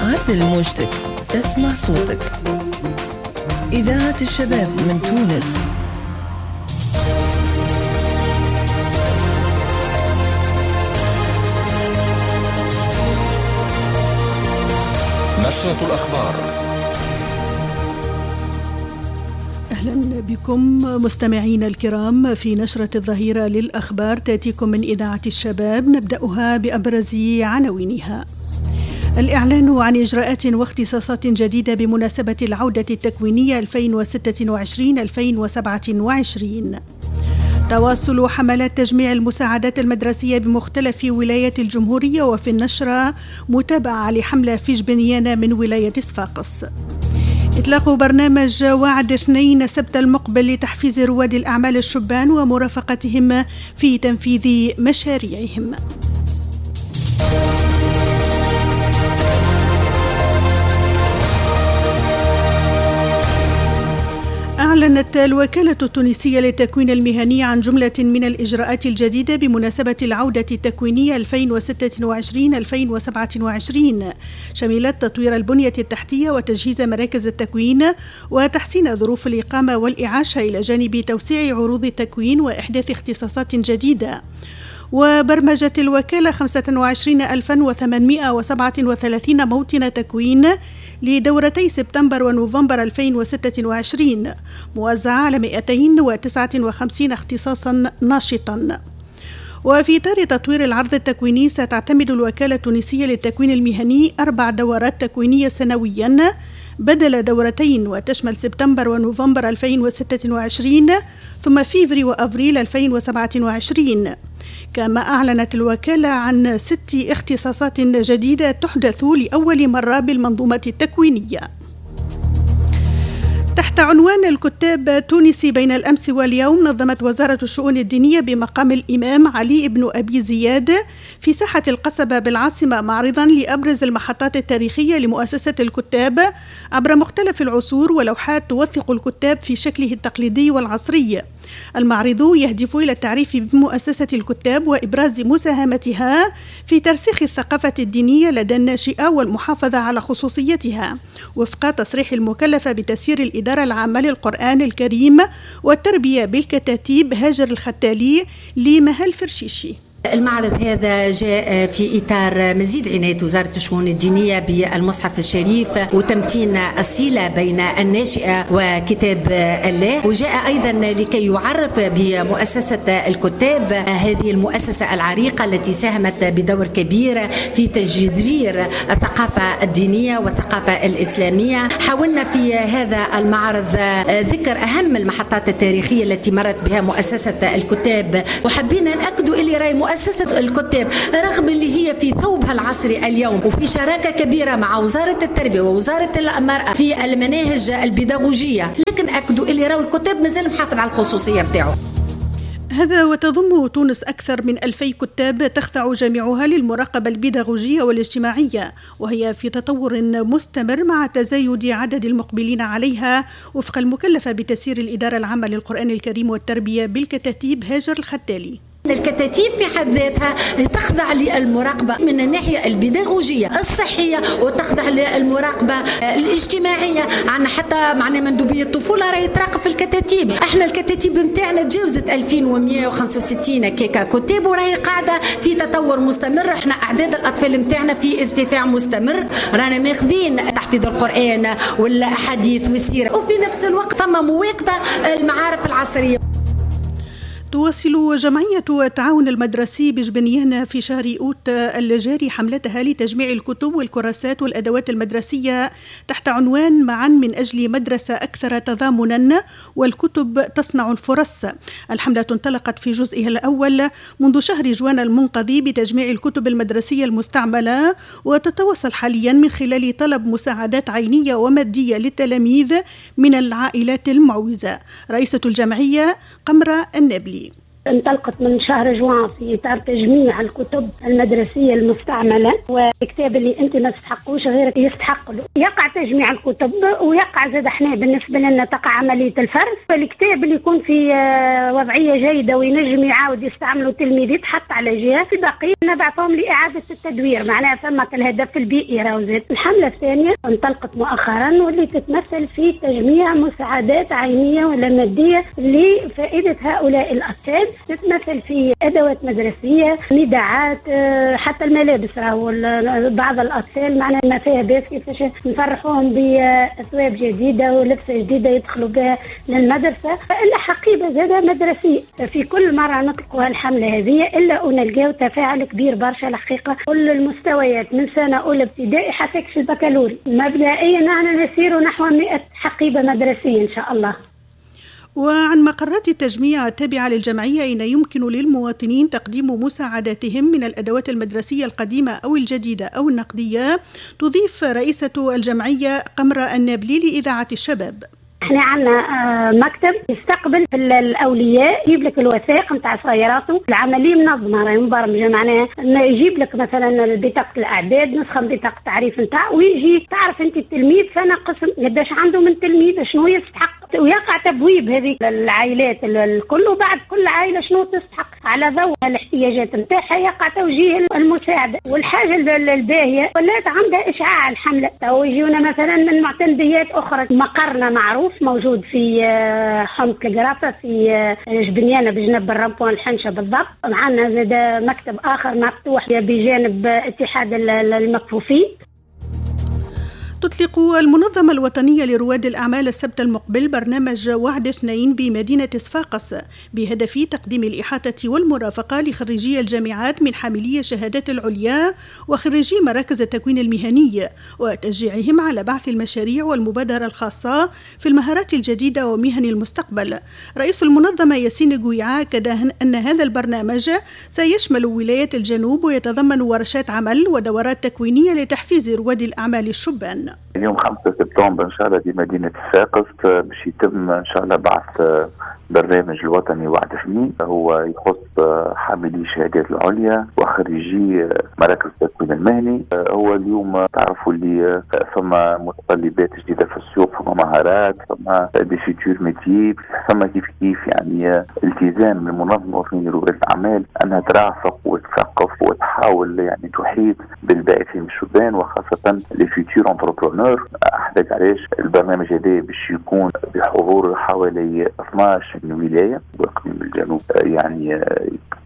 عدل موجتك تسمع صوتك. إذاعة الشباب من تونس. نشرة الأخبار. أهلا بكم مستمعينا الكرام في نشرة الظهيرة للأخبار، تأتيكم من إذاعة الشباب، نبدأها بأبرز عناوينها. الإعلان عن إجراءات واختصاصات جديدة بمناسبة العودة التكوينية 2026-2027. تواصل حملات تجميع المساعدات المدرسية بمختلف ولايات الجمهورية، وفي النشرة متابعة لحملة في جبنيانة من ولاية صفاقس. إطلاق برنامج وعد 2 سبت المقبل لتحفيز رواد الأعمال الشبان ومرافقتهم في تنفيذ مشاريعهم. أعلنت الوكالة التونسية للتكوين المهني عن جملة من الإجراءات الجديدة بمناسبة العودة التكوينية 2026-2027، شملت تطوير البنية التحتية وتجهيز مراكز التكوين وتحسين ظروف الإقامة والإعاشة، إلى جانب توسيع عروض التكوين وإحداث اختصاصات جديدة. وبرمجت الوكالة 25,837 موطن تكوين لدورتي سبتمبر ونوفمبر 2026، موزعة على 259 اختصاصا ناشطا. وفي إطار تطوير العرض التكويني، ستعتمد الوكالة التونسية للتكوين المهني 4 دورات تكوينية سنويا بدل دورتين، وتشمل سبتمبر ونوفمبر 2026 ثم فيفري وأفريل 2027. كما أعلنت الوكالة عن 6 اختصاصات جديدة تحدث لأول مرة بالمنظومة التكوينية. تحت عنوان الكتاب التونسي بين الأمس واليوم، نظمت وزارة الشؤون الدينية بمقام الإمام علي بن أبي زياد في ساحة القصبة بالعاصمة معرضا لأبرز المحطات التاريخية لمؤسسة الكتاب عبر مختلف العصور، ولوحات توثق الكتاب في شكله التقليدي والعصري. المعرض يهدف إلى التعريف بمؤسسة الكتاب وإبراز مساهمتها في ترسيخ الثقافة الدينية لدى الناشئة والمحافظة على خصوصيتها، وفق تصريح المكلفة بتسيير الإدارة العامة للقرآن الكريم والتربية بالكتاتيب هاجر الختالي لمهل فرشيشي. المعرض هذا جاء في إطار مزيد عناية وزارة الشؤون الدينية بالمصحف الشريف وتمتين الصلة بين الناشئة وكتاب الله، وجاء أيضا لكي يعرف بمؤسسة الكتاب، هذه المؤسسة العريقة التي ساهمت بدور كبير في تجذير الثقافة الدينية والثقافة الإسلامية. حاولنا في هذا المعرض ذكر أهم المحطات التاريخية التي مرت بها مؤسسة الكتاب، وحبينا نأكدوا اللي رأي مؤسسة الكتاب رغم اللي هي في ثوبها العصري اليوم وفي شراكة كبيرة مع وزارة التربية ووزارة المرأة في المناهج البيداغوجية، لكن أكدوا اللي راو الكتاب مازال محافظ على الخصوصية بتاعه. هذا وتضم تونس أكثر من 2000 كتاب تخضع جميعها للمراقبة البيداغوجية والاجتماعية، وهي في تطور مستمر مع تزايد عدد المقبلين عليها، وفق المكلفة بتسيير الإدارة العامة للقرآن الكريم والتربية بالكتاتيب هاجر الختالي. الكتاتيب في حد ذاتها تخضع للمراقبة من الناحية البيداغوجية الصحية، وتخضع للمراقبة الاجتماعية. عندنا حتى معنا مندوبية الطفولة راهي تراقب في الكتاتيب. احنا الكتاتيب نتاعنا تجاوزت 2165 كيكا كتاب، وراهي قاعدة في تطور مستمر. احنا أعداد الأطفال نتاعنا في ارتفاع مستمر، رانا ماخذين تحفيظ القرآن والأحاديث والسيرة، وفي نفس الوقت فما مواكبة المعارف العصرية. تواصل جمعية التعاون المدرسي بجبنيانة في شهر أوت الجاري حملتها لتجميع الكتب والكراسات والأدوات المدرسية تحت عنوان معا من أجل مدرسة أكثر تضامنا والكتب تصنع الفرص. الحملة انطلقت في جزئها الأول منذ شهر جوان المنقضي بتجميع الكتب المدرسية المستعملة، وتتواصل حاليا من خلال طلب مساعدات عينية ومادية للتلاميذ من العائلات المعوزة. رئيسة الجمعية قمرة النابلي. انطلقت من شهر جوان في إطار تجميع الكتب المدرسية المستعملة، والكتاب اللي أنت ما تستحقوش غيرك يستحق له. يقع تجميع الكتب ويقع زاد احنا بالنسبة لنا تقع عملية الفرز، فالكتاب اللي يكون في وضعية جيدة وينجم يعاود يستعمله التلميذ يتحط على جهة، الباقي نبعثهم لإعادة التدوير، معناها ثم الهدف البيئي راهو زاد. الحملة الثانية انطلقت مؤخرا واللي تتمثل في تجميع مساعدات عينية ولا مادية لفائدة هؤلاء الأطفال، تتمثل في أدوات مدرسية، نداعات، حتى الملابس راهو بعض الأطفال معناها ما فيها باس كيفاش نفرحوهم بأثواب جديدة ولبسة جديدة يدخلوا بها للمدرسة، إلا حقيبة زادة مدرسية. في كل مرة نطلقوا الحملة هذه إلا ونلقاو تفاعل كبير برشا الحقيقة، كل المستويات من سنة أولى ابتدائي حتى في البكالوريا. مبدئيا نحن نسير نحو 100 حقيبة مدرسية إن شاء الله. وعن مقرات التجميع التابعة للجمعية أين يمكن للمواطنين تقديم مساعداتهم من الأدوات المدرسية القديمة أو الجديدة أو النقدية، تضيف رئيسة الجمعية قمرة النابلي لإذاعة الشباب. احنا عندنا مكتب يستقبل الاولياء، يجيب لك الوثائق نتاع صغيراته، العملية منظمة راهي مبرمجه، معناها يجيب لك مثلا بطاقة الاعداد، نسخه من بطاقة التعريف نتاع، ويجي تعرف انت التلميذ فانا قسم قداش عنده من تلميذ شنو يستحق، ويقع تبويب هذه العائلات الكل، وبعد كل عائلة شنو تستحق على ضوء الاحتياجات نتاعها يقع توجيه المساعدة. والحاجة الباهيه ولات عندها اشعاع الحملة، تو يجونا مثلا من معتمديات اخرى، مقرنا معروف موجود في حمص القرافه في جبنيانه بجنب ال rond-point الحنشه بالضبط. معنا زاد مكتب اخر مفتوح بجانب اتحاد المكفوفين. تطلق المنظمة الوطنية لرواد الأعمال السبت المقبل برنامج وعد 2 بمدينة صفاقس بهدف تقديم الإحاطة والمرافقة لخريجي الجامعات من حاملي الشهادات العليا وخريجي مراكز التكوين المهني، وتشجيعهم على بعث المشاريع والمبادرة الخاصة في المهارات الجديدة ومهن المستقبل. رئيس المنظمة ياسين قويعة أكد أن هذا البرنامج سيشمل ولايات الجنوب ويتضمن ورشات عمل ودورات تكوينية لتحفيز رواد الأعمال الشبان. اليوم 5 سبتمبر إن شاء الله بمدينة صفاقس باش يتم إن شاء الله بعث برنامج الوطني وعد 2، هو يخص حاملي الشهادات العليا وخريجي مراكز التكوين المهني. هو اليوم تعرفوا اللي فما متطلبات جديدة في السوق، فما مهارات، فما des futurs métiers، فما كيف كيف يعني التزام من المنظمة الوطنية لرواد الأعمال أنها ترافق وتثقف وتحاول يعني تحيط بالباعثين الشبان وخاصة les futurs entrepreneurs. أحدث علاش البرنامج هذا باش يكون بحضور حوالي 12 ولاية واقليم الجنوب يعني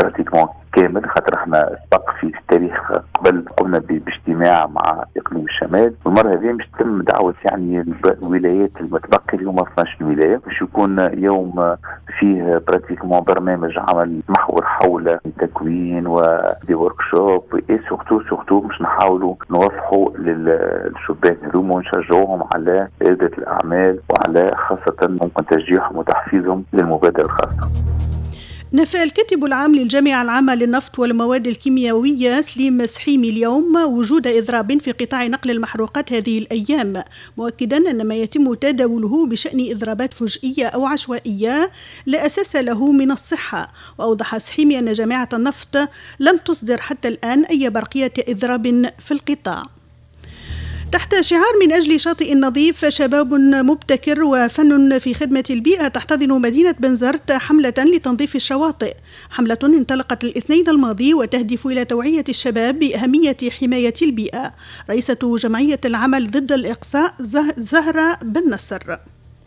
pratiquement كامل، خاطر احنا سبق في التاريخ قبل قمنا باجتماع مع اقليم الشمال، والمرة هذه باش تتم دعوه يعني الولايات المتبقية اللي هما 12 ولاية، باش يكون يوم فيه pratiquement برنامج عمل محور حول التكوين و des workshops et surtout باش نحاولوا نوضحوا للشبان هذوما ونشجعوهم على رياده الاعمال وعلى خاصة ممكن تشجيعهم وتحفيزهم للمبادره الخاصة. نفى الكاتب العام للجامعة العامة للنفط والمواد الكيميائية سليم سحيمي اليوم وجود إضراب في قطاع نقل المحروقات هذه الأيام، مؤكدا أن ما يتم تداوله بشأن إضرابات فجئية أو عشوائية لا أساس له من الصحة. وأوضح سحيمي أن جامعة النفط لم تصدر حتى الآن أي برقية إضراب في القطاع. تحت شعار من أجل شاطئ نظيف شباب مبتكر وفن في خدمة البيئة، تحتضن مدينة بنزرت حملة لتنظيف الشواطئ، حملة انطلقت الاثنين الماضي وتهدف إلى توعية الشباب بأهمية حماية البيئة. رئيسة جمعية العمل ضد الإقصاء زهرة بن نصر: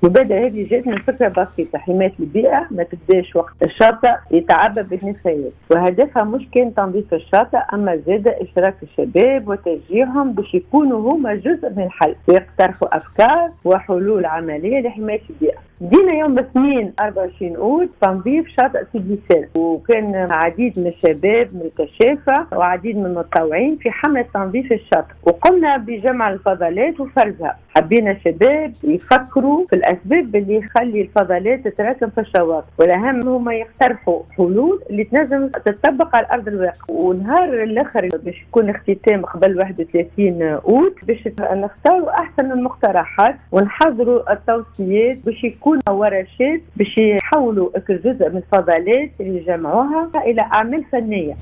المبادرة هذه جات من فكرة بسيطة، حماية البيئة ما تبداش وقت الشاطئ يتعبى بالنفايات، وهدفها مش كان تنظيف الشاطئ، أما زاد إشراك الشباب وتشجيعهم باش يكونوا هما جزء من الحل ويقترحوا أفكار وحلول عملية لحماية البيئة. بدينا يوم الاثنين 24 أوت تنظيف شاطئ سيدي سالم، وكان عديد من الشباب من الكشافة وعديد من المتطوعين في حملة تنظيف الشاطئ، وقمنا بجمع الفضلات وفرزها. حبينا الشباب يفكروا في الأسباب اللي يخلي الفضلات تتراكم في الشواطئ، والأهم هما يقترحوا حلول اللي تنجم تطبق على أرض الواقع. ونهار الآخر باش يكون اختتام قبل 31 أوت باش نختاروا أحسن المقترحات ونحضروا التوصيات باش يكون ورشات باش يحولوا جزء من الفضلات اللي جمعوها إلى أعمال فنية.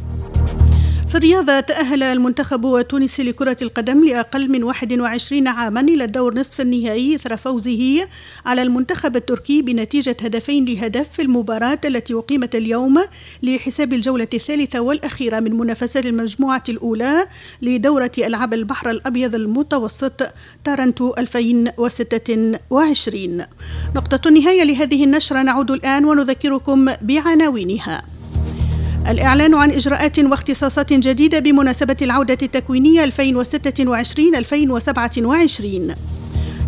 في الرياضة، تأهل المنتخب التونسي لكرة القدم لأقل من 21 عاما إلى الدور نصف النهائي إثر فوزه على المنتخب التركي بنتيجة 2-2 في المباراة التي أقيمت اليوم لحساب الجولة الثالثة والأخيرة من منافسات المجموعة الأولى لدورة ألعاب البحر الأبيض المتوسط تارنتو 2026. نقطة النهاية لهذه النشرة، نعود الآن ونذكركم بعناوينها. الإعلان عن إجراءات واختصاصات جديدة بمناسبة العودة التكوينية 2026-2027.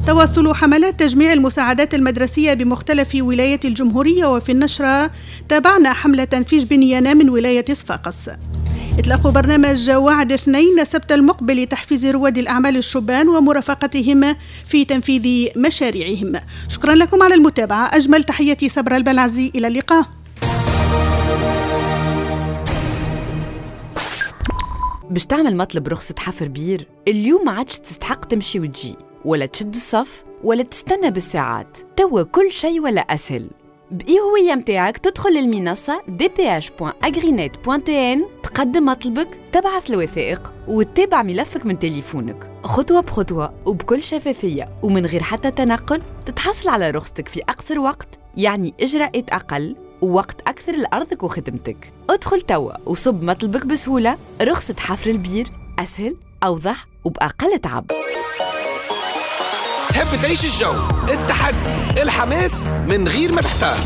تواصل حملات تجميع المساعدات المدرسية بمختلف ولايات الجمهورية، وفي النشرة تابعنا حملة في جبنيانة من ولاية صفاقس. إطلاق برنامج وعد 2 السبت المقبل لتحفيز رواد الأعمال الشبان ومرافقتهم في تنفيذ مشاريعهم. شكرا لكم على المتابعة، أجمل تحياتي صبر البلعزي، إلى اللقاء. باش تعمل مطلب رخصة حفر بير اليوم ما عادش تستحق تمشي وتجي ولا تشد الصف ولا تستنى بالساعات، توا كل شيء ولا أسهل. بإي هوية متاعك تدخل للمنصة dph.agrinet.tn، تقدم مطلبك، تبعث الوثائق وتتابع ملفك من تليفونك خطوة بخطوة وبكل شفافية ومن غير حتى تنقل. تتحصل على رخصتك في أقصر وقت، يعني إجراءات أقل ووقت أكثر لأرضك وخدمتك. ادخل توا وصب مطلبك بسهولة. رخصة حفر البير أسهل، أوضح وبأقل تعب. تحب تعيش الجو، التحدي، الحماس من غير ما تحتار؟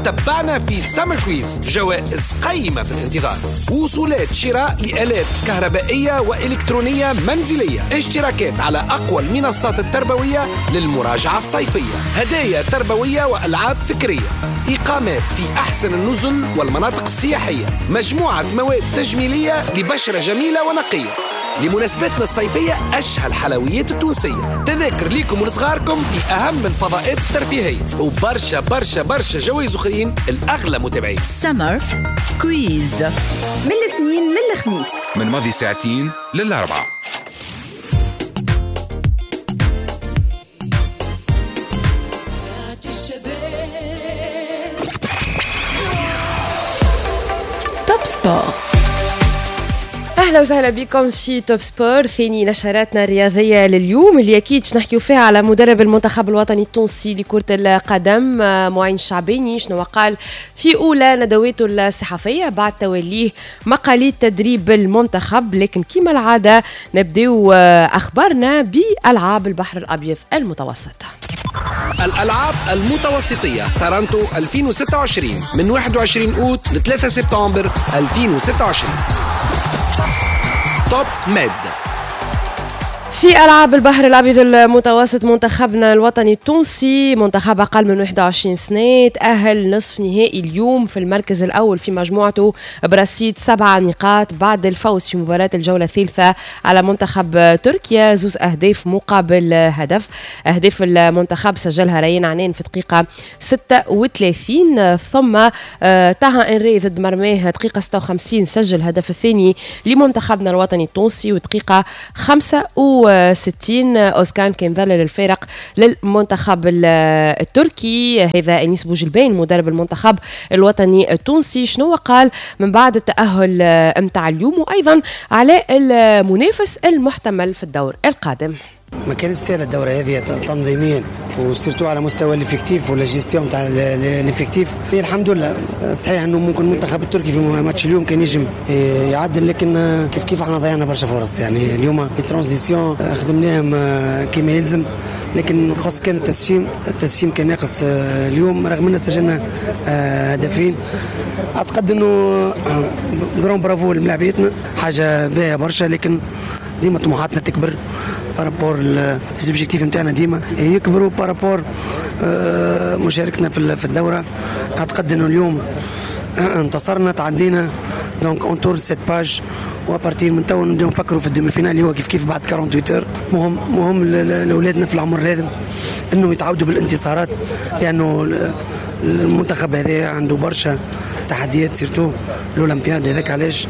تبعنا في Summer Quiz، جوائز قيمة في الانتظار، وصولات شراء لآلات كهربائية وإلكترونية منزلية، اشتراكات على أقوى المنصات التربوية للمراجعة الصيفية، هدايا تربوية وألعاب فكرية، إقامات في أحسن النزل والمناطق السياحية، مجموعة مواد تجميلية لبشرة جميلة ونقية. لمناسباتنا الصيفية أشهى الحلويات التونسية، تذاكر ليكم ولصغاركم في أهم الفضاءات الترفيهية، وبرشا برشا برشا جوائز أخرين الأغلى متابعين. Summer Quiz من الاثنين للخميس من ماضي ساعتين للأربعة. Top Sport. اهلا وسهلا بكم في Top Sport، ثاني نشراتنا الرياضية لليوم اللي اكيد نحكيو فيها على مدرب المنتخب الوطني التونسي لكرة القدم معين الشعباني، شنو قال في اولى ندواته الصحفية بعد توليه مقاليد تدريب المنتخب. لكن كما العادة نبداو اخبارنا بالعاب البحر الابيض المتوسط. الألعاب المتوسطية تارانتو 2026 من 21 أوت ل 3 سبتمبر 2026. Top Med. في ألعاب البحر الأبيض المتوسط منتخبنا الوطني التونسي منتخب أقل من 21 سنة تأهل نصف نهائي اليوم في المركز الأول في مجموعته برصيد 7 نقاط بعد الفوز في مباراة الجولة الثالثة على منتخب تركيا 2 أهداف مقابل هدف. أهداف المنتخب سجلها ريان عنان في دقيقة 36، ثم طه إنري ضد مرماه دقيقة 56 سجل الهدف الثاني لمنتخبنا الوطني التونسي، ودقيقة 65 أوسكان كان ظلل الفارق للمنتخب التركي. هذا أنيس بوجلبان مدرب المنتخب الوطني التونسي شنو قال من بعد التأهل متاع اليوم وأيضا على المنافس المحتمل في الدور القادم. ما كانت سهلة الدورة هذه تنظيميا و surtout على مستوى l'effectif ولا gestion تاع l'effectif. الحمد لله صحيح انه ممكن المنتخب التركي في ماتش اليوم كان ينجم يعدل، لكن كيف كيف احنا ضيعنا برشا فرص. يعني اليوم les transitions خدمناهم كما يلزم، لكن خاص كان التسجيم كان ناقص اليوم رغم ان سجلنا هدفين. اعتقد انه grand bravo لملاعبيتنا، حاجة باهيه برشا، لكن ديما طموحاتنا تكبر par rapport les objectifs نتاعنا ديما يكبروا par rapport مشاركتنا في الدورة. اعتقد انه اليوم انتصرنا، تعدينا، donc on tourne cette page و à partir من تو نبداو نفكروا في ال demi-finale اللي هو كيف كيف بعد 48 heures. مهم لاولادنا في العمر هذا انه يتعودوا بالانتصارات، لانه المنتخب هذا عنده برشا تحديات surtout الاولمبياد. هذاك علاش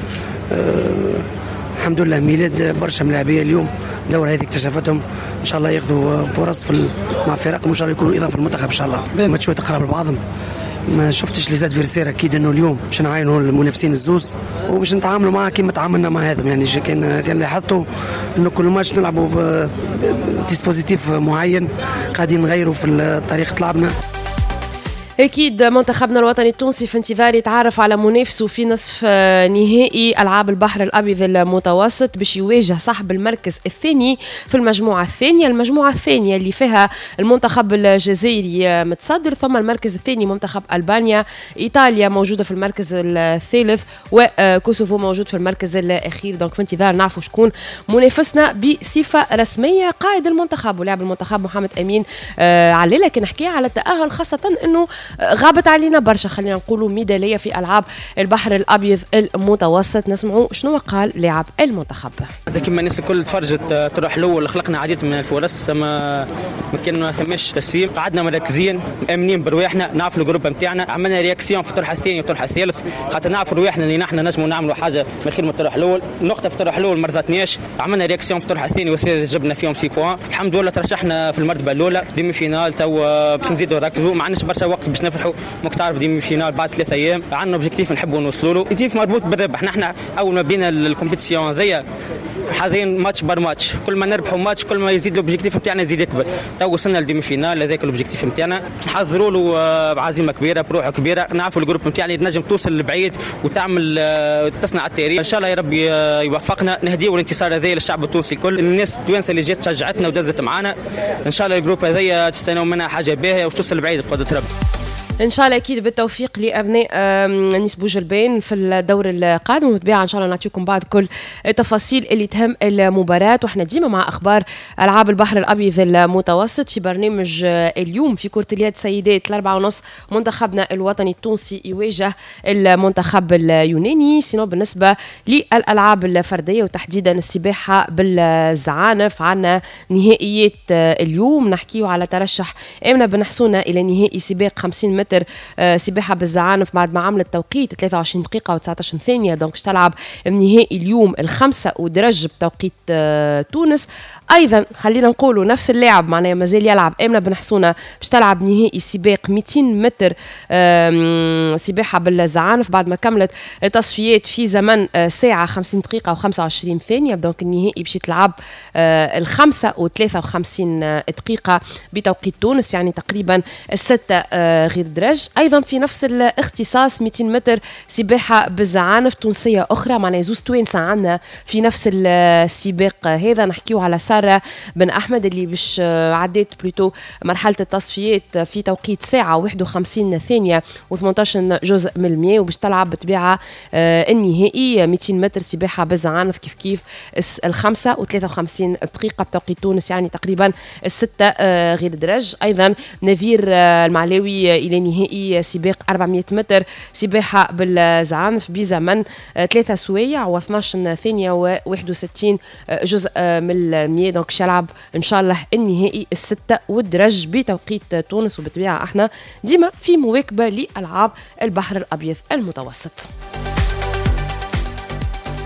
الحمد لله ميلاد برشا ملاعبيه اليوم الدورة هذه اكتشفتهم، ان شاء الله ياخذوا فرص في مع فرق، وان شاء الله يكونوا اضافه للمنتخب ان شاء الله. ماتشات قراب لبعضهم، ما شفتش les adversaires، اكيد انه اليوم باش نعاينوا المنافسين الزوز وباش نتعاملوا معاه كما تعاملنا مع هذا. يعني كان لاحظتوا انه كل ماتش نلعبوا ب dispositif معين، قاعدين نغيروا في طريقه لعبنا. أكيد منتخبنا الوطني التونسي في انتظار يتعرف على منافسه في نصف نهائي ألعاب البحر الأبيض المتوسط، باش يواجه صاحب المركز الثاني في المجموعة الثانية، المجموعة الثانية اللي فيها المنتخب الجزائري متصدر، ثم المركز الثاني منتخب ألبانيا، إيطاليا موجودة في المركز الثالث، وكوسوفو موجود في المركز الأخير. donc في انتظار نعرفوا شكون منافسنا بصفة رسمية. قائد المنتخب ولاعب المنتخب محمد أمين علالة كان حكى على التأهل، خاصة أنه غابت علينا برشا، خلينا نقولوا ميدالية في العاب البحر الابيض المتوسط. نسمعوا شنو قال لاعب المنتخب. كما الناس الكل تفرجت الطرح الاول، خلقنا عديد من الفرص ما كان ما ثماش تسليم، قعدنا مركزين مامنين برواحنا، نعرفوا ال groupe نتاعنا، عملنا réaction في الطرح الثاني والطرح الثالث، خاطر نعرفوا رواحنا اللي نحن نجموا نعملوا حاجة من خير من الطرح الاول. نقطة في الطرح الاول ما رضاتناش، عملنا réaction في الطرح الثاني والثالث، جبنا فيهم 6 points، الحمد لله ترشحنا في المرتبة الاولى. demi-finale تو باش نزيدوا نركزوا، ما عندناش برشا وقت باش نفرحوا، ماك تعرف demi-finale بعد 3 ايام، عندنا objectif نحبوا نوصلوا له، objectif مربوط بالربح. نحن اول ما بدينا ال compétition هذيا حاضرين match par match، كل ما نربحوا ماتش كل ما يزيد l'objectif نتاعنا يزيد يكبر. تو وصلنا لل demi-finale، هذاك l'objectif نتاعنا نحضروا له بعزيمة كبيرة، بروح كبيرة، نعرفوا ال groupe نتاعنا تنجم توصل لبعيد وتعمل تصنع التاريخ ان شاء الله. يا ربي يوفقنا، نهديو الانتصار هذا للشعب التونسي الكل، الناس التوانسة اللي جات شجعتنا ودزت معنا. ان شاء الله ال groupe هذايا تستناو منها حاجة باهيه وتوصل لبعيد بقدره ربي. ان شاء الله. اكيد بالتوفيق لابناء انيس بوجلبان في الدور القادم، وبالطبيعه ان شاء الله نعطيكم بعد كل التفاصيل اللي تهم المباراة. واحنا ديما مع اخبار العاب البحر الابيض المتوسط في برنامج اليوم. في كره اليد سيدات 4:30 منتخبنا الوطني التونسي يواجه المنتخب اليوناني. sinon بالنسبة للالعاب الفردية وتحديدا السباحة بالزعانف، عندنا نهائيات اليوم. نحكيو على ترشح امنه بن حسونه الى نهائي سباق 50 متر سباحة بالزعانف بعد ما عملت توقيت 23 دقيقة و19 ثانيه، donc تلعب النهائي اليوم 5 ودرج بتوقيت تونس. ايضا خلينا نقولوا نفس اللاعب معناها مازال يلعب، امنه بن حسونه باش تلعب نهائي سباق 200 متر سباحة بالزعانف بعد ما كملت تصفيات في زمن ساعة 50 دقيقة و25 ثانيه، donc النهائي باش يتلعب 5:53 دقيقة بتوقيت تونس، يعني تقريبا 6 غير درج. ايضا في نفس الاختصاص 200 متر سباحة بالزعانف تونسية اخرى، معناها زوز توانسة عندنا في نفس السباق هذا. نحكيو على ساره بن احمد اللي باش عديت plutôt مرحلة التصفيات في توقيت ساعة 51 ثانية و18 جزء من المية، وباش تلعب بطبيعة النهائي 200 متر سباحة بالزعانف كيف كيف 5:53 دقيقة بتوقيت تونس، يعني تقريبا 6 غير درج. ايضا نذير المعلاوي الى نهائي سباق 400 متر سباحة بالزعانف بزمن 3 سوايع و12 ثانية و61 جزء من المية، donc يلعب ان شاء الله النهائي 6 والدرج بتوقيت تونس. وبالطبيعه احنا ديما في مواكبة لالعاب البحر الابيض المتوسط.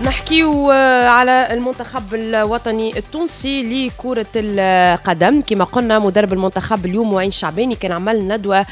نحكيو على المنتخب الوطني التونسي لكرة القدم. كما قلنا مدرب المنتخب اليوم معين شعباني كان عمل ندوة.